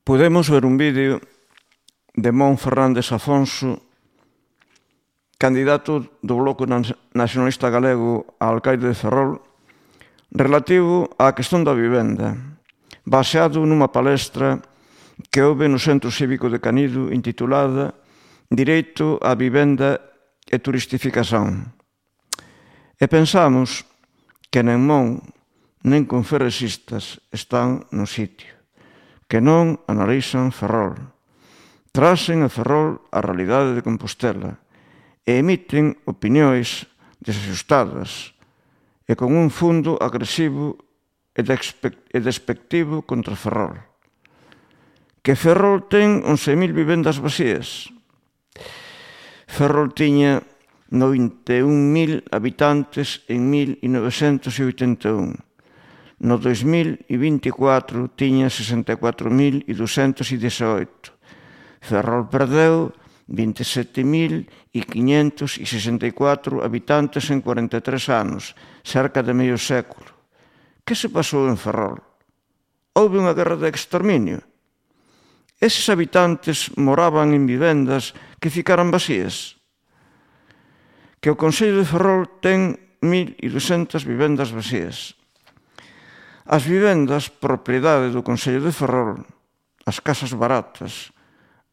Podemos ver un vídeo de Mon Fernández Afonso, candidato do Bloco Nacionalista Galego a alcaide de Ferrol, relativo á cuestión da vivenda, baseado nunha palestra que houve no Centro Cívico de Canido intitulada Direito á vivenda e turistificación. E pensamos que nen Mon nen con ferresistas están no sitio, que non analizan Ferrol, trasen a Ferrol a realidade de Compostela e emiten opinións desaxustadas e con un fundo agresivo e despectivo contra Ferrol. Que Ferrol ten 11.000 vivendas vacías. Ferrol tiña 91.000 habitantes en 1981. No 2024 tiña 64.218. Ferrol perdeu 27.564 habitantes en 43 anos, cerca de medio século. Que se pasou en Ferrol? Houve unha guerra de exterminio? Eses habitantes moraban en vivendas que ficaran vacías? Que o Concello de Ferrol ten 1.200 vivendas vacías. As vivendas propiedade do Concello de Ferrol, as casas baratas,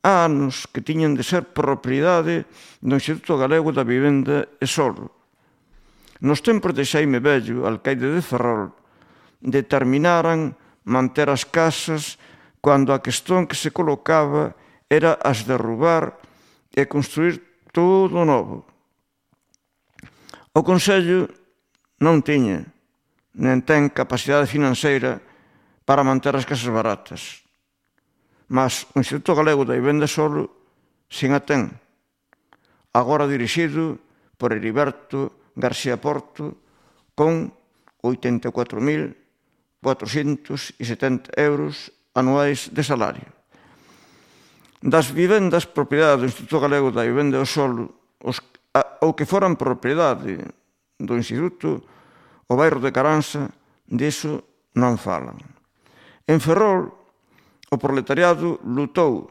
há anos que tiñan de ser propiedade do Instituto Galego da Vivenda e Solo. Nos tempos de Xaime Bello, alcaide de Ferrol, determinaran manter as casas cando a cuestión que se colocaba era as derrubar e construir todo novo. O Concello non tiña, nen ten capacidade financeira para manter as casas baratas. Mas o Instituto Galego da Vivenda Solo sin a ten, agora dirixido por Heriberto García Porto, con 84.470 euros anuais de salario. Das vivendas propiedade do Instituto Galego da Vivenda Solo, ou que foran propiedade do Instituto, o bairro de Caranza, diso non falan. En Ferrol, o proletariado lutou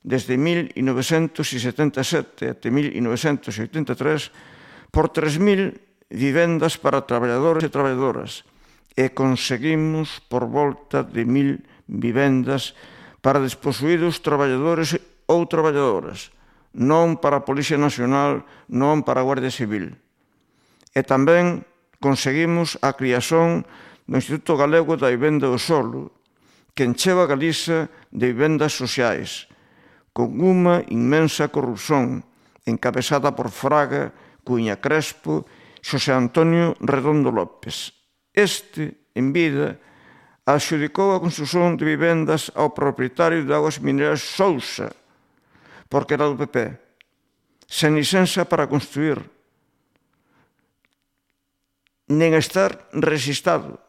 desde 1977 até 1983 por 3.000 vivendas para traballadores e traballadoras e conseguimos por volta de 1.000 vivendas para desposuídos traballadores ou traballadoras, non para a Policía Nacional, non para a Guardia Civil. E tamén conseguimos a criación do Instituto Galego da Vivenda do Solo, que encheva Galiza de vivendas sociais, con unha inmensa corrupción encabezada por Fraga, Cuña Crespo, Xosé Antonio Redondo López. Este, en vida, adxudicou a construción de vivendas ao propietario de Augas Mineras Sousa, porque era do PP, sen licenza para construir, nen estar rexistrado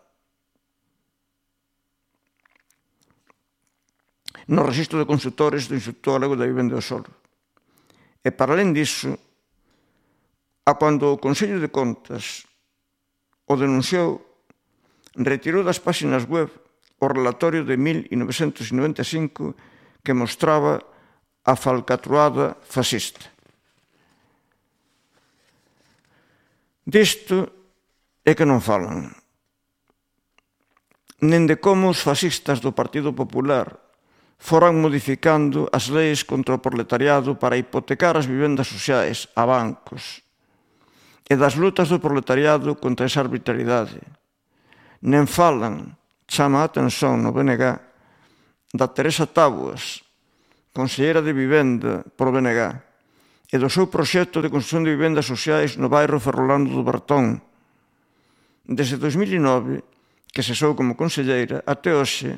no Rexistro de Construtores do Instituto Galego da Vivenda do Solo. E, para alén disso, a cando o Consello de Contas o denunciou, retirou das páxinas web o relatorio de 1995 que mostraba a falcatruada fascista. Disto é que non falan, nen de como os fascistas do Partido Popular foran modificando as leis contra o proletariado para hipotecar as vivendas sociais a bancos e das lutas do proletariado contra esa arbitrariedade. Nen falan, chama a atención no BNG, da Teresa Táboas, conselleira de Vivenda por BNG, e do seu proxecto de construción de vivendas sociais no bairro ferrolano do Bertón. Desde 2009, que cesou como conselleira, até hoxe,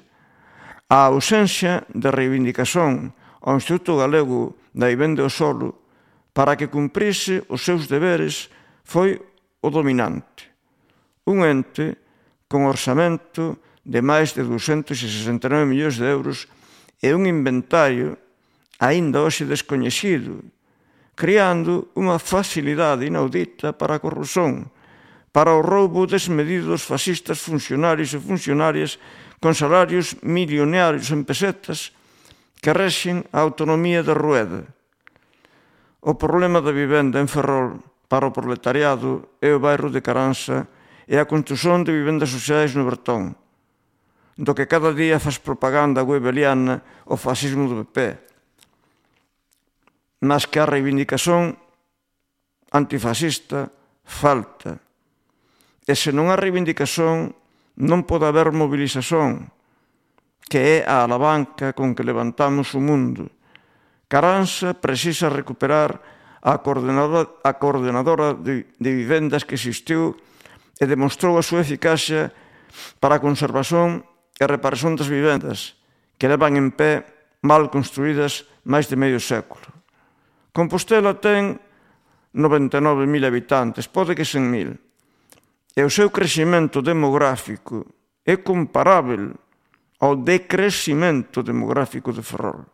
a ausencia de reivindicación ao Instituto Galego da Vivenda do Solo para que cumprise os seus deberes foi o dominante. Un ente con orzamento de máis de 269 millóns de euros e un inventario aínda hoxe descoñecido, creando unha facilidade inaudita para a corrupción, para o roubo desmedido dos fascistas funcionarios e funcionarias con salarios millonarios en pesetas que rexen a autonomía de Rueda. O problema da vivenda en Ferrol para o proletariado é o bairro de Caransa e a construción de vivendas sociais no Bertón, do que cada día faz propaganda goebeliana o fascismo do PP. Mas que a reivindicación antifascista falta. E se non há reivindicación, non pode haber movilización, que é a alavanca con que levantamos o mundo. Caransa precisa recuperar a coordenadora de vivendas que existiu e demostrou a súa eficacia para a conservación e reparación das vivendas que levan en pé mal construídas máis de medio século. Compostela ten 99.000 habitantes, pode que 100.000, e o seu crecimento demográfico é comparável ao decrecimento demográfico de Ferrol.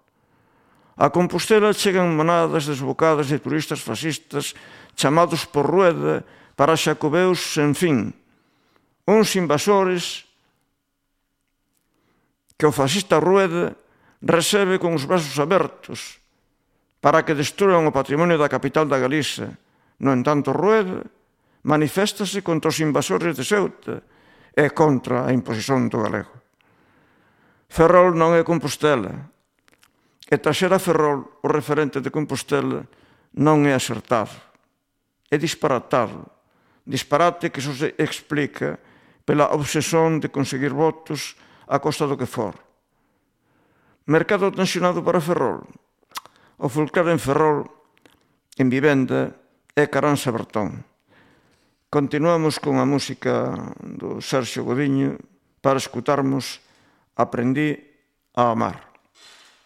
A Compostela chegan manadas desbocadas de turistas fascistas chamados por Rueda para xacobeus sen fin, uns invasores que o fascista Rueda recebe con os brazos abertos para que destruan o patrimonio da capital da Galiza. No entanto, Rueda maniféstase contra os invasores de Ceuta e contra a imposición do galego. Ferrol non é Compostela, e traxer a Ferrol o referente de Compostela non é acertado, é disparatado. Disparate que só se explica pela obsesión de conseguir votos a costa do que for. Mercado tensionado para Ferrol. O fulcral en Ferrol, en vivenda, é Caransa Bertón. Continuamos con a música do Sergio Godiño para escutarmos Aprendí a amar.